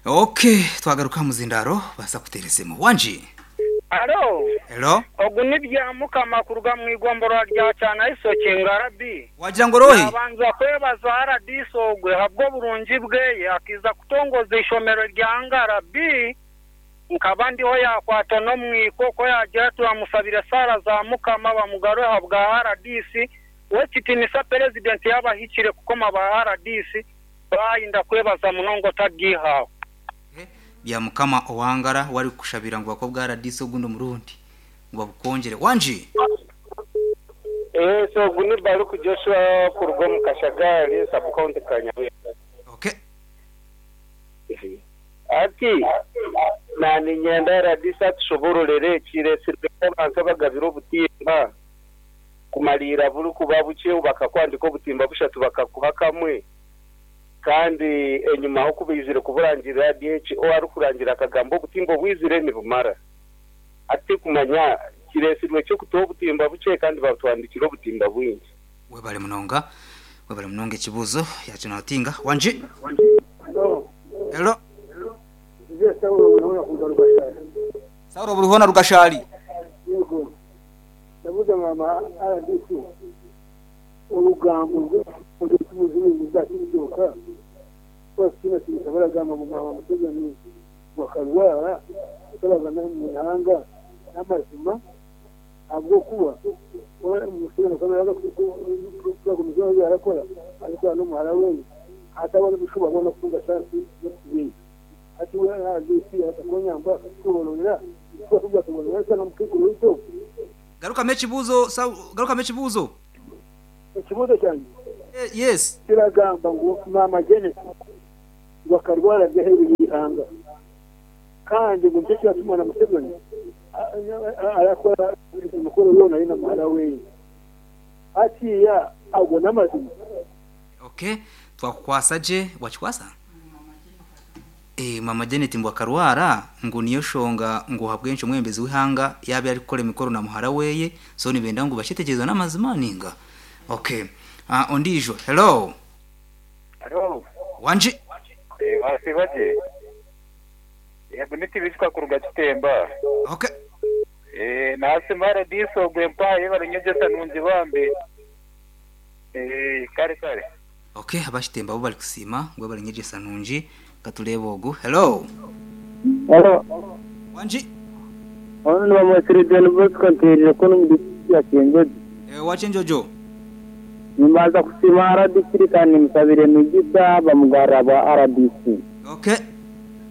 Okay, twagaruka aha muzindaaro baasa kuteera esimu. Wangi? Halo, Hello? ogu ni Byamukama kuruga mu igomborora rya Kyanaisoki, Ngarabi. Wagira ngu ori ohi? Nabanza kwebaza rdc ogwe ahabw'oburungi bweye akaiza kutongoza eishomero rya Ngarabi. Nkaba ndiho yakwatwa n'omwiko ku yagira ati bamusabire esaara za Mukama bamugarure ahabwa rdc. Wekitinisa Purezidenti yaaba ahikire kukoma ba rdc. Baayi ndakwebaza munonga otaryihaho. Byamukama owangara we arikukushabira ngu bakuhe obwa rdc ogundi omurundi ngu babukwongyere. Wangi! Yes, ogu ni Baruku Joshua kuruga omu Kashagari, sub county Kanyabuye. Okay. Hati na niinyenda rdc atushobororere ekiresirwe abantu abagabire obutimba kumariira buri kuba bukye bakakwandika obutimba bushatu bakakuha kamwe. Kandi enyimaho ku baizire kuburangirira, DHO arikurangirira akagamba obutimba obwizire nibumara. Hati tirikumanya kireetsirwe ki okutuha obutimba bukye kandi batwandikire obutimba bwingi. Webale munonga webale munonga ekibuzo yakinotinga wangi. Hello. Hello. Nze Saulo Burihona kuruga Rugashari. Saulo Burihona Rugashari. Yego. Ndabuuza maama rdc. Orugambo rw'omuzimu rwakizooka rwakitiinatiinisa baragamba ngu Maama Museveni ngu akarwara otaragamba omu ihanga n'amazima ahabw'okuba Museveni akaba naaza kugumizamu ebi arakora arikukora n'omuhara we hataba n'ebishuba boona kutunga chansi y'okutubeihisa. Hati we RDC akakonyamba akatusobororera tuba n'omukaikuru waitu ogwo. Garukamu ekibuuzo garukamu ekibuuzo. Ekibuuzo kyangye Yes. kiragamba ngu Maama Janet ngu akarwara ari aheeru y'eihanga kandi ngu nikyo kiratuma na Museveni arakora emikoro yoona ari na muhara weye. Hatiiya ago n'amazima? Okay, twakukwasa gye, wakikwasa? Eeh Maama Janet mbu akarwara ngu niyo shonga ngu ahabw'enki omwebembezi w'eihanga yaaba arikukora emikoro na muhara weye so nibenda ngu bakyetegyereze n'amazima ninga? Okay ondiijo hello. Hello. Wangi. Eeh wasiiba gye? Yego ni Tibisika kuruga Kitemba. Okay. Eeh nasiima RDC ogwo empaha yebare nyegyesa nungi bambi. Eeh kare kare. Ok aba Kitemba bo bari kusiima ngu webare nyegyesa nungi katureebe ogu. Hello. Hello. Wangi. Onu nibamwetsire John Bosco nteerire kunu omu disiturikiti ya Kyenjojo. Ewa Kyenjojo. Nimbanza kusiima rdc kandi nimusabira emigisa bamugarura bwa rdc. Ok.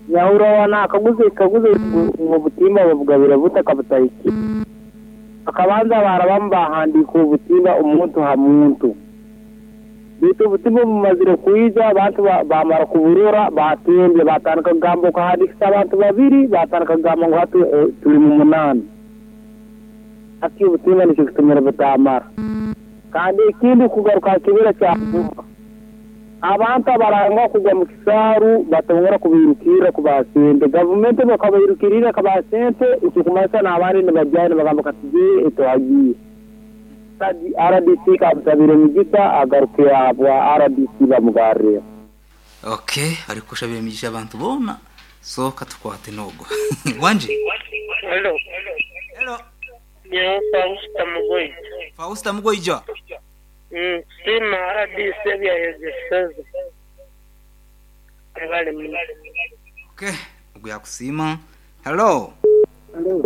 Nyahurira wa nakaguza ekikaguzo ngu obutimba babugabire buta kabutahikire. Bakabanza baarabamu baahandiika obutimba omuntu ha muntu. Beitu obutimba obu bumazire kwija, abantu baamara kuburora, baatembya, baatandika kugamba okahandiikisa abantu babiri, baatandika kugamba ngu hati turi mu munaana. Hati obutimba nikyo kitumire butaamara. Kandi ekindi kugaruka aha kibira kya Buvuma, abantu abarangwa kugwa mu kisaaru batongera kubairukirra kubaha sente. Gavumenti obu ekabairukiriire ekabaha sente, ekirukumanyisa n'abandi nibagyayo nibagamba katugyeyo etuhagiire. Rdc kamusabire emigisa agaruke ahabwa rdc bamugarreho. Ok arikushabira emigisha abantu boona so katukwate nogu wangi. Hello. Hello. Nyowe Fausta Mugoija. Fausta Mugoija. Nsiima rdc ebyayegyeseze. Mwebale muno. Ok ogu yakusiima. Hello. Hello.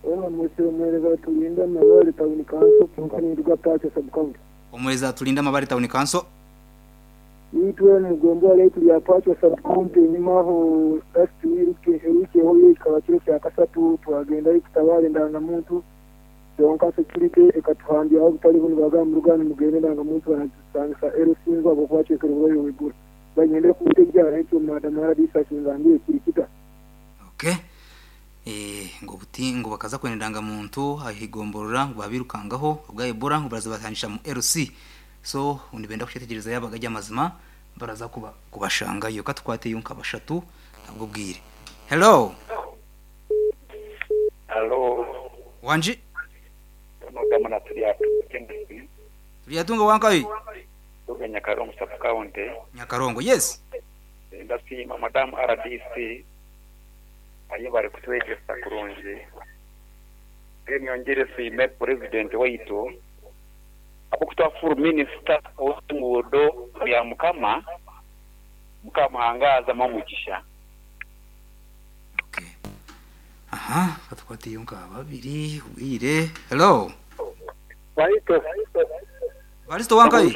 Weena mwetsire omuheereza Tulinda Mabare Town Council kwonka ninduga Pacho Sub County. Omuheereza Tulinda Mabare Town Council. Itwe omu gombolola yaitu rya Pacho Sub County enyima aho last week ewiiki ehweire kikaba kiro kya kasatu twagendayo kutabaara endangamuntu kwonka security ekatuhambyaho obutari bu nibagamba muruge aha nimugenda endangamuntu banagisangisa LC ngu ahabw'okuba acwekere oburwaire bw'Ebola. Banyendire kuntegya ekyo Madam rdc akingambire kiri kita? Okay. Ngu obuti ngu bakaza kwenda endangamuntu aha igomborora ngu babirukangaho obwa Ebola ngu baraza batandikira mu LC so nibenda kukyetegyereza yaaba gari amazima baraza kuba kubashangayo katukwateyo nka bashatu ahabw'obwire. Hello. Halo. Wangi. Onogamba na Turyatunga Kenneth. Turyatunga wankahi? Nduga Nyakarongo sub county. Nyakarongo yes. Ndasiima Madamu rdc ayebare kutwegyesa kurungi. Then nyongyere nsiime Purezidenti waitu ahabw'okutuha full minisita ow'enguudo Byamukama. Mukama amuhangaaze amuhe omugisha. Okay. Aha, katukwateyo nka babiri obwire. Hello. Baito. Baristo wankai.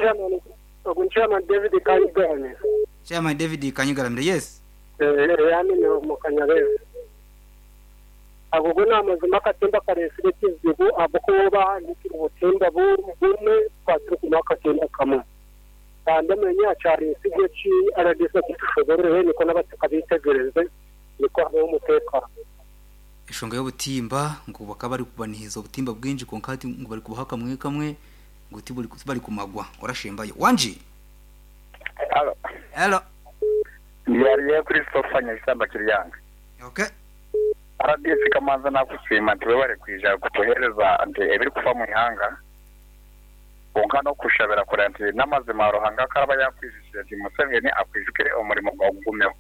Ogu ni Chairman David Kanyigaramire. Chairman David Kanyigaramire, yes. Yani ni omu Kanyabezi. Ago go ni amazima, akatimba kareesire ekizibu ahabw'okuba bahandiikire obutimba bumwe twaturi kumuha akatimba kamwe. Kandi omenya kyareesirwe ki RDC kitushoborere niko n'abataka betegereze niko habeho umutekano. Enshonga y'obutimba ngu bakaba bari kubanihiza obutimba bwingi, konka hati ngu bari kubaha kamwe kamwe, ngu tiburi bari kumagwa orashembayo wangi. Halo. Hello. Ndiyariye Christopher Nyakisamba Kiryanga. Okay. RDC Kamanza, nakusiima nti webare kwija kutuheereza nti ebirikufa mu ihanga, konka n'okushabira kureba nti n'amazima Ruhanga akaraba yakwijukire nti Museveni akwijukire omurimo gwawe gugumeho.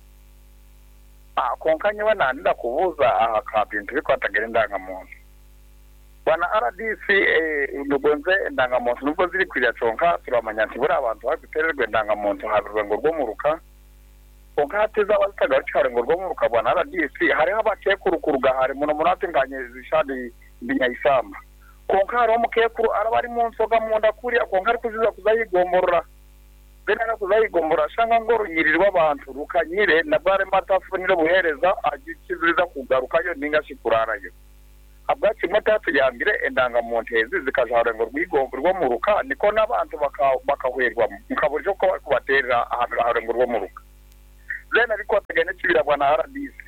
Ah, konka nyowe nandida kubuuza aha ka bintu bikwatagire endangamuntu. Bwana RDC, ndugonze endangamuntu nubwo ziri kwirya, kyonka turamanya nti buri abantu barikutererwa endangamuntu ha rwengo rw'omuruka, konka hati zaba zitagarukira ha rurengo rw'omuruka. Bwana RDC, hariho abakekuru kuruga hari muno muno, ati nkanye zishadi ndi Nyaisamba, konka hariho omukekuru araba ari mu nsoga munda kuriya, konka ari kuziza kuzayigomborora bene ari kuzayigomborora, shanga ngo orunyiriri rw'abantu rukanyire nabwo arimo atafunire obuheereza agikiziriza kugarukayo ninga shi kurarayo. Habwakimwe tatuyambire endangamuntu ezi zikaja aha rurengo rw'omuruka, niko n'abantu bakahwerwamu nka burijo ko barikubaterera aha rurengo rw'omuruka. Then ebikwatagana n'ekibira, bwana RDC,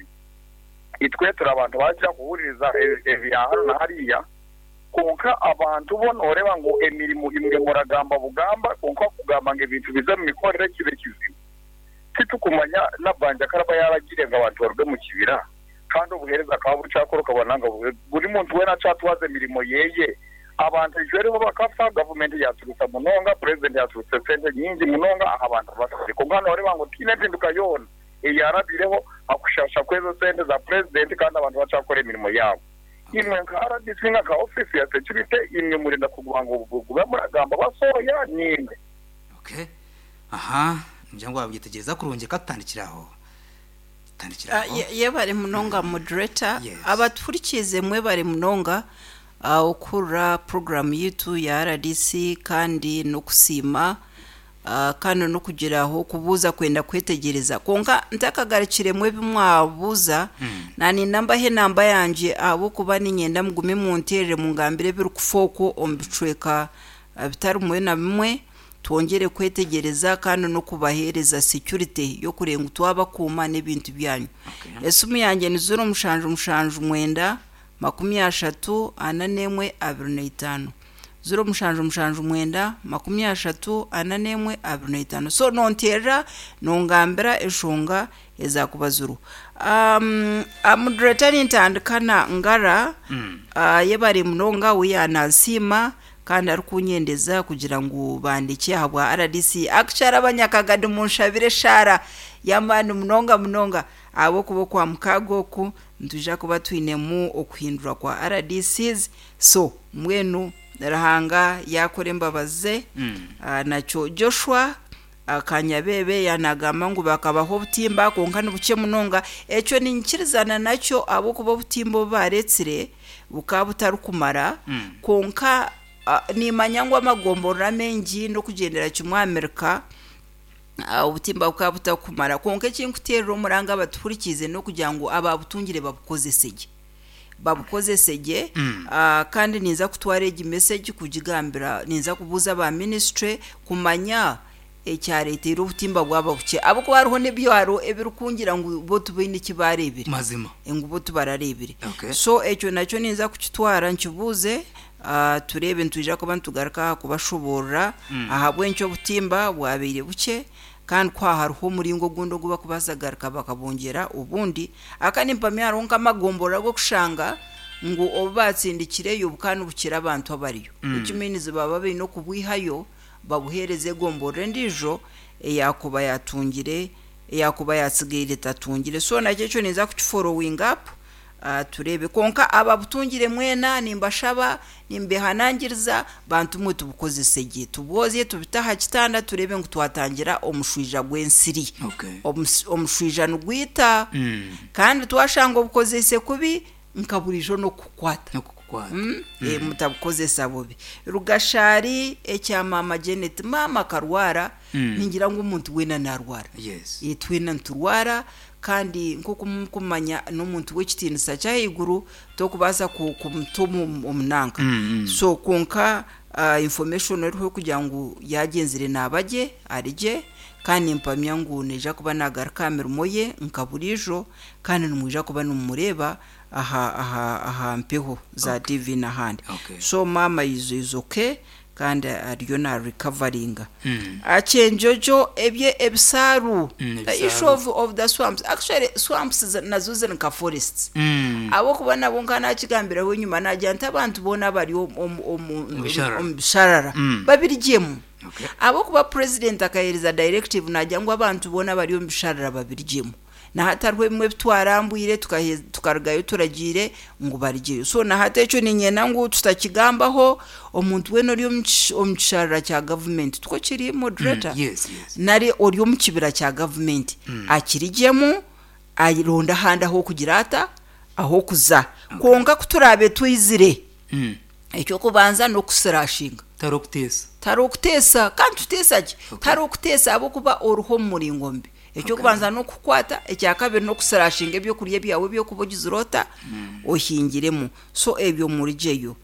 itwe turi abantu bagira kuhuririza ebya hano na hariya, konka abantu bo nooreba ngu emirimo imwe muragamba bugamba, konka kugamba ngu ebintu bize mu mikorere kibe kizibu. Titukumanya nabanja karaba yaragire ngu abantu baruge mu kibira, kandi obuheereza akaba bukyakora, ukabona nga buri muntu weena akyatwaza emirimo yeye. Abantu ejweriho bakafa, gavumenti yaturusa munonga, purezidenti yaturuse sente nyingi munonga aha bantu bafire, konka nooreba ngu tiine empinduka yoona eyarabireho akushasha kwezo sente za purezidenti, kandi abantu bakyakora emirimo yaabo. Imwe nka RDC, nka ofisi ya security, imwe murinda kuguma ngu gube muragamba basoya nimwe. Okay, aha ngira ngo wabyitegereza kurungi, katutandikira aho, tutandikira aho. Yebare munonga, moderator. Yes. Abaturikize mwebare munonga okurra program yitu ya RDC, kandi n'okusiima, kandi n'okugiraho kubuuza kwenda kwetegereza, konka ntakagarukiremu ebi mwabuuza, naninda mbahe enamba yangye ahabw'okuba ninyenda mugume munterere mungambire ebirikufa okwo omu bicweka bitari bimwe na bimwe, twongere kwetegereza kandi n'okubaheereza security y'okurenga ngu twabakuuma n'ebintu byanyu. Esimu yange ni 0779 30 41 25, 0779 30 41 25. So nonterera nongambira enshonga ezakuba ziriho. Moderator, nintandika ngara. Yebare munonga, we yanansiima kandi arikunyendeza kugira ngu bandike ahabwa RDC. Akukyara abanyakagadi, munshabire eshaara y'amaani munonga munonga, ahabw'okuba okwa mukaaga oku nitwija kuba twinemu okuhindura kwa RDCs. So mbwenu Ruhanga yakora embabazi ze. Nakyo Joshua Akanyabebe yanagamba ngu bakabaho obutimba, konka nibukye munonga. Ekyo ninyikirizana nakyo, ahabw'okuba obutimba obu baretsire bukaba butarikumara, konka nimanya ngu amagomborora amengi n'okugyendera kimwe Amerika, obutimba bukaba butakumara, konka ekinkuterera omuranga abatuhurikiize n'okugira ngu ababutungire babukozese gye, babukozese gye. Kandi ninza kutwara egi message kugigambira, ninza kubuuza aba ministry kumanya ekyareteire obutimba bwaba bukye, ahabw'okuba hariho n'ebyaro ebirikungira ngu bo tibaine eki bareebire. Mazima. Ngu bo tibarareebire. Okay. So ekyo nakyo ninza kukitwara nkibuuze, tureebe nitwija kuba nitugaruka aha kubashoboorora ahabw'enki obutimba bwabaire bukye, kandi ku hariho omuringo ogundi ogu bakubaasa kugaruka bakabongyera obundi. Aka nimpamya hariho nk'amagomborora ag'okushanga ngu obu batsindikireyo bukaba nibukira abantu abariyo, which means baba baine okubwihayo babuheereza egomborora endiijo eyakuba yatungire. Eyakuba yatsigaire tatungire. So nakyo ekyo ninza kukiforowinga up tureebe. Kwonka ababutungire mwena nimbashaba, nimbehanangiriza, bantu mwe tubukozese gye. Tubwozye tubite aha kitanda tureebe ngu twatangira omushwija gw'ensiri. Okay. Omushwija nigwita kandi twashanga obukozeise kubi nka buriijo n'okukukwata. N'okukukwata. Mutabukozesa bubi. Rugashari ekya maama Janet, maama akarwara, ningira ngu omuntu weena naarwara. Yes. Twena niturwara kandi nk'oku murikumanya n'omuntu w'ekitiinisa ky'ahaiguru tokubaasa kumuta omu nanka. So kwonka information eriho kugira ngu yaagyenzire naaba gye, ari gye kandi nimpamya ngu naija kuba naagaruka aha mirimo ye nka buriijo kandi nimwija kuba nimumureeba aha aha aha mpeho za TV n'ahandi. Okay. So maama is is okay kandi ariyo na recoveringa. Akyenjojo ebye ebisaaru the issue Ebisaaru. of, of the swamps actually swamps nazo ziri nka forests. Ahabw'okuba nabwo nka nakigambiraho enyima nagira nti abantu boona abari omu omu omu bisharara. omu bisharara babirugyemu. Okay. Ahabw'okuba president akaheereza directive nagira ngu abantu boona abari omu bisharara babirugyemu. Na hati hariho ebimwe ebi twarambwire tukarugayo turagiire ngu barugyeyo. So na hati ekyo niinyenda ngu tutakigambaho, omuntu weena ori omu kisharara kya gavumenti, tikwo kiri moderator? Yes, yes. Nari ori omu kibira kya gavumenti, akirigyemu aronde ahandi ah'okugira ata? Ah'okuza. Kwonka ku turaabe twizire, Eky'okubanza n'okusirashinga. Tihariho okuteesa. Tihariho okuteesa. Kandi tuteesa ki? Tihariho okuteesa ahabw'okuba oriho omu muringo mubi. Eky'okubanza n'okukukwata, ekyakabiri n'okusirashinga ebyokurya byawe ebi orikuba ogizire ota? Ohingiremu. So ebyo murugyeyo.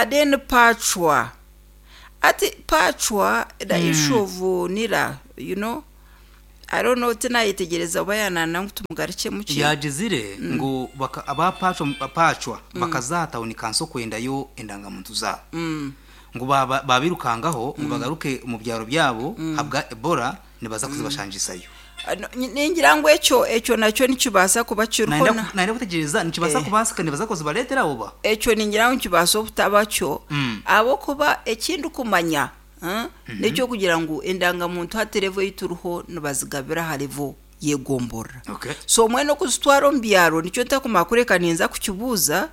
Then pacwa. Hati pacwa, the issue of nira, you know, I don't know tinayetegyereza oba yananda ngu tumugarukyemu ki. Yaagizire ngu baka aba pacwa pacwa bakaza aha tawuni kanso kwendayo endangamuntu zaabo. Ngu baaba baabirukangaho ngu bagaruke omu byaro byabo ahabwa Ebola nibaza kuzibashangisayo. Ningira ngu ekyo ekyo nakyo nikibaasa kuba kiriho Nayenda na. nayenda kutegyereza nikibaasa kubaasika nibaza kuzibareetera oba? Ekyo ningira ngu nikibaasa obutaba kyo ahabw'okuba eki ndikumanya N'eky'okugira ngu endangamuntu hati level ei turiho nibazigabira aha level y'egomborora. Okay. So mbwenu okuzitwara omu byaro nikyo ntakumara kureka ninza kukibuuza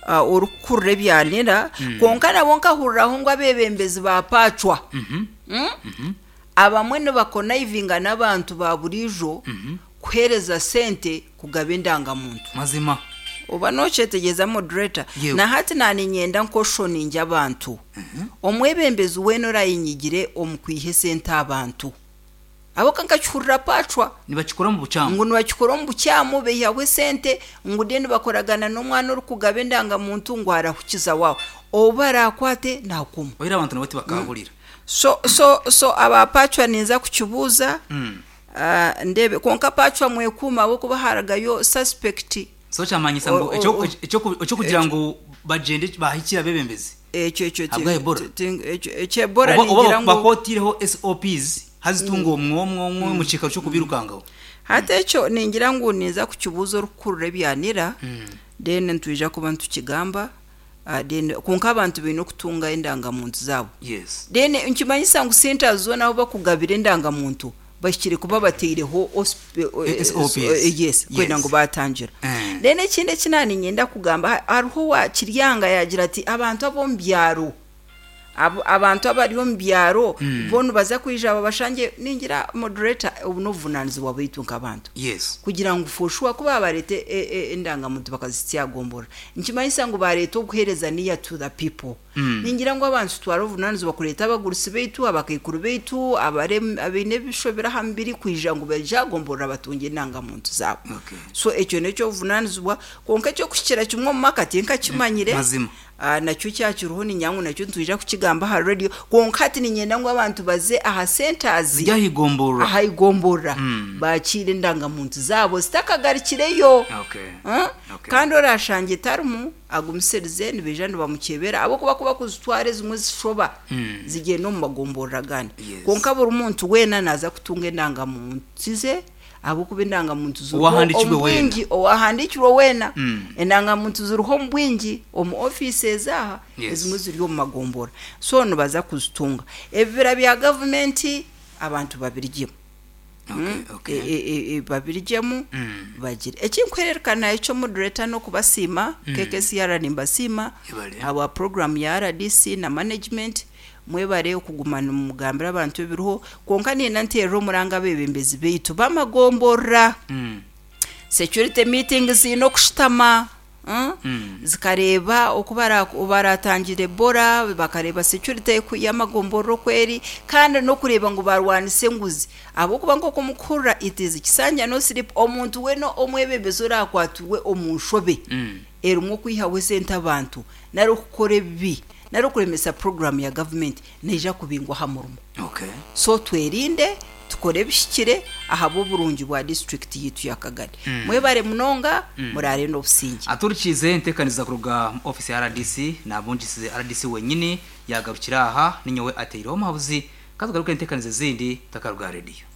orikukurira ebya nira, kwonka nabwo nkahuriraho ngu abeebembezi ba paacwa abamwe nibakonaivinga n'abantu ba buriijo kuheereza sente kugaba endangamuntu. Mazima. Oba nokyetegyereza moderator? Yego. Na hati naninyenda nkoshoninge abantu. Omwebembezi weena orayenyigire omu kwiha esente aha bantu. Ahabw'okuba nkakihurira pacwa. Nibakikora omu bukyamu. Ngu nibakikora omu bukyamu baihaho esente ngu then bakoragana n'omwana orikugaba endangamuntu ngu arahukiza waawe. Ou barakwate naakoma. Oira abantu nabo tibakahurira. So so so aba pacwa ninza kukibuuza. Ndeebe kwonka pacwa mwekuume ahabw'okuba harugayo suspect. So kyamanyisa ngu eky'okugira ngu bagyende bahikire abebembezi Ekyo ekyo ahabwa Ebola? Ekyo Ebola Oba ningira ngu. bakootiireho SOPs haza itunga omwe omwe omwe omu kiikaro ky'okubirukangaho? Hati ekyo ningira ngu ninza kukibuuza orikukurira ebya nira then nitwija kuba nitukigamba. Then kwonka abantu baine okutunga endangamuntu zaabo. Yes. Then nikimanyisa ngu centres zoona ahu bakugabira endangamuntu bahikire kuba bataireho SOPs. Yes, kwenda Yes. ngu baatangira. Eh. Then ekindi eki naaniinyenda kugamba, hariho owa Kiryanga yaagira ati abantu ab'omu byaro, abantu abari omu byaro bo nibaza kwija babashangye, ningira moderator obu n'obuvunaanizibwa bwaitu nk'abantu. Yes. Kugira ngu for sure ku baabareeta endangamuntu bakazihitsya aha gomborora, nikimanyisa ngu baareeta obuheereza near to the people. Ningira ngu abantu tutware obuvunaanizibwa kureeta abagurusi baitu, abakaikuru baitu, abaine ebishobire aha mubiri kwija ngu baije aha gomborora batungye endangamuntu zaabo. Okay. So ekyo n'eky'obuvunaanizibwa kwonka eky'okuhikira kimwe omu maka tinkakimanyire. Mazima. Nakyo kyakiriho niinyanga ngu nakyo nitwija kukigamba aha radio kwonka hati niinyenda ngu abantu baze aha centres Ziri aha igomborora. aha igomborora baakiire endangamuntu zaabo zitakagarukireyo. Okay. Okay. Kandi oraashangye etarimu agumisirize nibaija nibamukyebera ahabw'okuba ku bakuzitwara ezimwe zishoba zigyenda omu magomborora agandi. Yes. Kwonka buri muntu weena naaza kutunga endangamuntu ze Ahabw'okuba endangamuntu ziriho Owahandiikirwe omu weena. bwingi, owahandiikirwe weena, endangamuntu ziriho omu bwingi omu ofiisi ezi aha, Yes. ezimwe ziri omu magombora. So nibaza kuzitunga. Ebibira bya gavumenti abantu babirugyemu. Okay, okay. Babirugyemu bagire ekinkuhererekana ekyo moderator n'okubasiima. KKCR nimbasiima Ebare. Ahabwa program ya RDC na management. Mwebare okuguma nimugambira abantu ebiriho, kwonka niinyenda nteerere omuranga abeebembezi baitu bamagomborora. Security meetings ziine okushutama, Zikareeba oku baratangire Ebola, bakareeba security y'amagomborora oku eri, kandi n'okureeba ngu barwanisa enguzi. Ahabw'okuba nk'oku mukuhurira, it is kisanja no sleep, omuntu weena omwebembezi orakwatirwe omu nshobe erimu okwihaho esente abantu, nari okukora ebibi, nari okuremesa puroguraamu ya gavumenti, naija kubingwa aha murimo. So twerinde, tukore ebihikire ahabw'oburungi bwa disiturikiti yaitu ya Kagadi. Mwebare munonga, muraare n'obusingye. Aturikiize enteekaniza kuruga omu ofiisi ya rdc nabungisize rdc wenyini yagarukira aha ninyowe ateireho omuhabuzi katugaruke enteekaniza ezindi takaruga aha rediyo.